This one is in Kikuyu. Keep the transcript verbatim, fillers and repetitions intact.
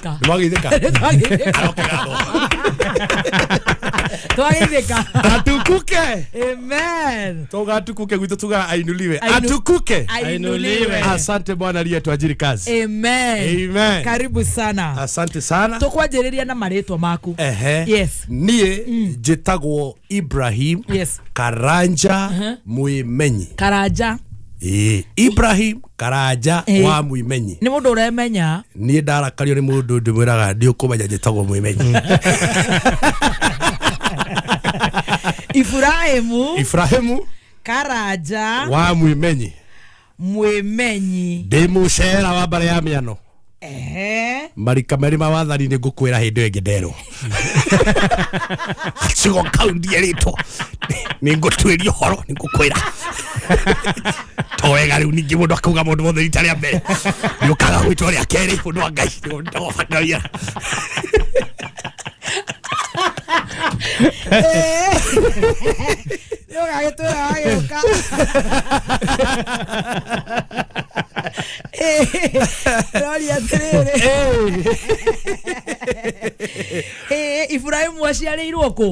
Nĩmwageithĩka? Nĩtwageithĩka. Twageithĩka. Atukuke. Amen. Toga atukuke gwitũ tuga ainuliwe. Ainu- Atukuke. Ainuliwe. Asante Bwana aliyetuajiri kazi. Amen. Amen. Karibu sana. Asante sana. Tũkwanjĩrĩria na marĩtwa maku. Ehe. Yes. Niĩ njĩtagwo Ibrahim Yes. Karanja Mwimenyi. Karanja. Ĩĩ, Ibrahim Karanja Ĩĩ. wa Mwimenyi. Nĩ mũndũ ũremenya. Niĩ ndarakario nĩ mũndũ ndĩmwĩraga ndiũkũmenya njĩtagwo Mwimenyi. Ibrahimu Ibrahimu Karanja wa Mwimenyi. Mwimenyi. Ndĩ mũcera wa mbare ya mĩano. Ehe. Marika merĩ ma wathani nĩ ngũkwĩra hĩndĩ ĩyo ĩngĩ nderwo. Gacigo kau ndierĩtwo. Nĩ ngũtuĩria ũhoro nĩ ngũkwĩra. To wega rĩu ningĩ mũndũ akauga mũndũ mothe rita rĩa mbere. Nĩ ũkaga gwĩtwo rĩa kerĩ mũndũ wa Ngai. Ndagũbataria. Nĩ ũgagĩtwĩra wagĩũka. Ndĩroria atĩrĩrĩ. Ĩĩ, Ibrahimu aciarĩirwo kũ?